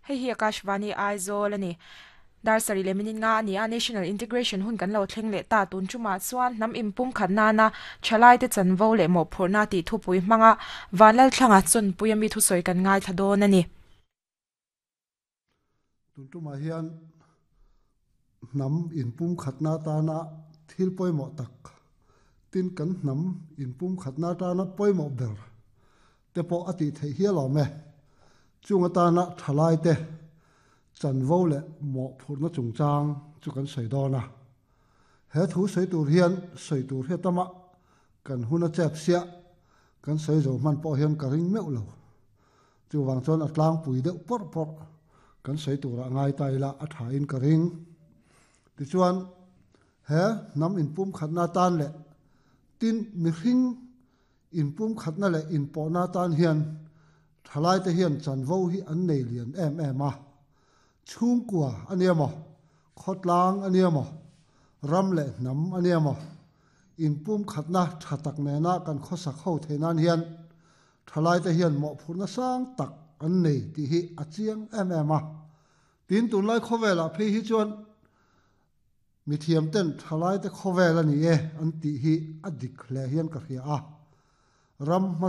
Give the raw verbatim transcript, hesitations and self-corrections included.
Hei hi Akashvani Aizawl ani. Dar sarih leh minute nga ani a National Integration hun kan lo thleng leh ta tun chuma chuan hnam inpum khat nana thalai te chanvo leh mawhphurhna tih thupui hmanga vanlal thlanga chawnpui ami thusawi kan ngai thla dawn ani. Tun tumah hian hnam inpum khatna tana thil pawimawh tak tin kan hnam inpum khatna tana pawimawh ber te pawh a tih theih hial awm e. Chung atana thalai te chanvo leh mawhphurhna chungchang chu kan sawi dawn a. He thu sawi tur hian sawi tur hi tama kan hun a chep sia kan sawi zo hman pawh hian ka ring meuh lo. Chu wang chuan a tlangpui deuh pawr pawr kan sawi turah ngai ta ila a tha in ka ring. Tichuan he hnam inpum khatna tan leh tin mihring inpum khatna leh inpawhna tan hian thalai te hian chanvo hi an nei lian em em a. Chhungkua ania maw, khawtlang ania maw, ram leh hnam ania maw, inpum khatna tha tak nena kan khawsak ho thei nan hian thalai te hian mawhphurhna sang tak an nei tih hi a chiang em em a. Tin tunlai khawvelah phei hi chuan mi thiam ten thalai te khawvel ani e an tih hi a dik hle hian ka hria a. Ram